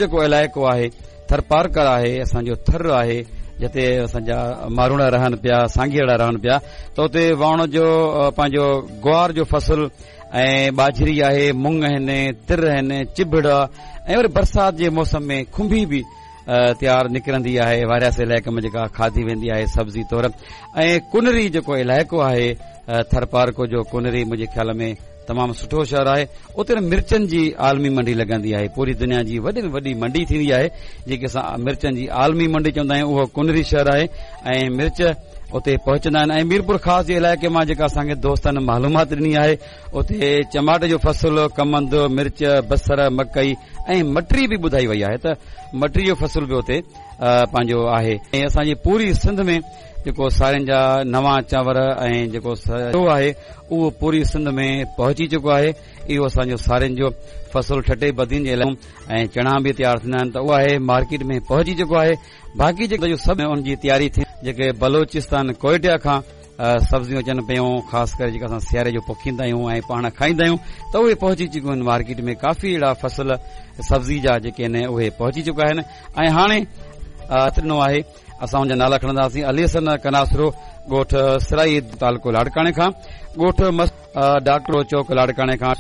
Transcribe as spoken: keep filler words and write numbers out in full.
جيڪو علائقو آهي ٿرپارڪر آهي، اسان جو ٿر آهي، جتي اسان جا ماروئڙا رهن پيا، سانگيئڙا رهن پيا، ته اتي واڻ جو پنهنجو گوار جو فصل ۽ ٻاجهري آهي، مڱ آهن، تر آهن، چڀڙ ۽ وري برسات جي موسم ۾ کنڀي به تيار نڪرندي آهي وارياسي علائقي ۾ جيڪا کاڌي ويندي آهي سبزي طور. ۽ ڪنري جيڪو علائقو آهي ٿرپارڪو جو، ڪنري منهنجي خيال ۾ تمام سٺو شهر آهي. اتي مرچن جي عالمي منڊي لڳندي آهي، پوري دنيا جي وڏي ۾ وڏي منڊي ٿيندي آهي جيڪي اسان مرچن جي عالمي منڊي چوندا آهيون، اهو ڪنري شهر آهي ۽ مرچ اتي پهچندا آهن. ۽ ميرپور خاص جي علائقي مان جيڪا اسان کي دوستن معلومات ڏني آهي، اتي چماٽ جو فصل، ڪمند، مرچ، بصر، مڪئي ۽ مٽري به ٻڌائي وئي آهي ته مٽري جو فصل به اتي پنهنجو آهي. ۽ اسان جي پوري سنڌ ۾ جيڪو سارين جا نوان چانور ۽ جيڪو سرو آهي اهو پوري سنڌ ۾ پهچي چڪو آهي. اهو اسان جو سارين جو فصل ٺٽي بدين جي علائقي ۽ چڻا به تيار ٿيندا آهن ته اهو آهي مارڪيٽ ۾ پهچي چڪو آهي. باقي جيڪو سڀ ان جي تياري ٿي، جيڪي بلوچستان ڪوئيٽا کان سبزيون اچن پيون، خاص ڪري جيڪا اسان سياري جو پوکيندا آهيون ۽ پاڻ کائيندا آهيون ته اهي پهچي چڪيون آهن مارڪيٽ ۾. ڪافي اهڙا فصل سبزي جا جيڪي آهن اهي پهچي چڪا آهن. ۽ هاڻي ڏنو آهي اسان ان جا نالا کڻنداسين. علي حسن ڪناسرو، ڳوٺ سرائي، تعلقو لاڙڪاڻي کان، ڳوٺ ڊاڪٽر چوڪ لاڙڪاڻي کان.